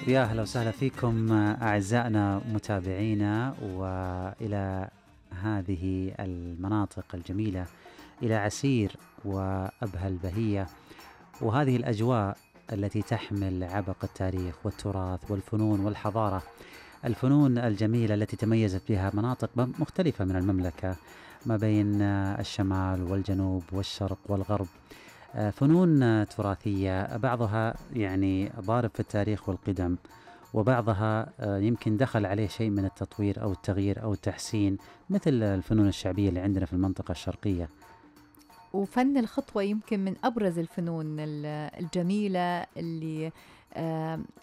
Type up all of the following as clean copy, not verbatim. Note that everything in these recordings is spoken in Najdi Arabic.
يا هلا وسهلا فيكم أعزائنا متابعينا وإلى هذه المناطق الجميلة، إلى عسير وأبها البهية، وهذه الأجواء التي تحمل عبق التاريخ والتراث والفنون والحضارة، الفنون الجميلة التي تميزت بها مناطق مختلفة من المملكة ما بين الشمال والجنوب والشرق والغرب. فنون تراثية بعضها يعني ضارب في التاريخ والقدم، وبعضها يمكن دخل عليه شيء من التطوير أو التغيير أو التحسين، مثل الفنون الشعبية اللي عندنا في المنطقة الشرقية. وفن الخطوة يمكن من أبرز الفنون الجميلة اللي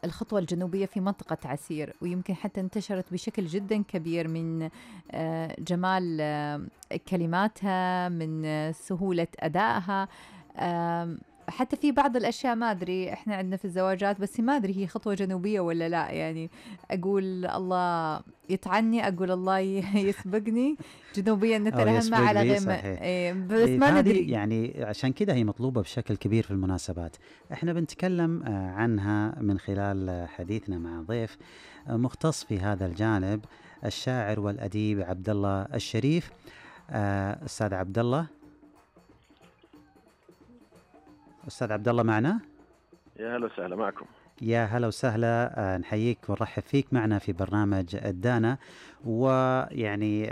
الخطوة الجنوبية في منطقة عسير، ويمكن حتى انتشرت بشكل جدا كبير من جمال كلماتها، من سهولة أدائها. حتى في بعض الأشياء ما أدري إحنا عندنا في الزواجات، بس ما أدري هي خطوة جنوبية ولا لا. يعني أقول الله يطعني، أقول الله يسبقني، جنوبيا أو نترهمها يسبق على لي غيم، صحيح. بس ما هذه ندري. يعني عشان كذا هي مطلوبة بشكل كبير في المناسبات. احنا بنتكلم عنها من خلال حديثنا مع ضيف مختص في هذا الجانب، الشاعر والأديب عبد الله الشريف. أستاذ عبد الله، أستاذ عبد الله معنا؟ يا هلا وسهلا معكم. يا هلا وسهلا، نحييك ونرحب فيك معنا في برنامج الدانا. ويعني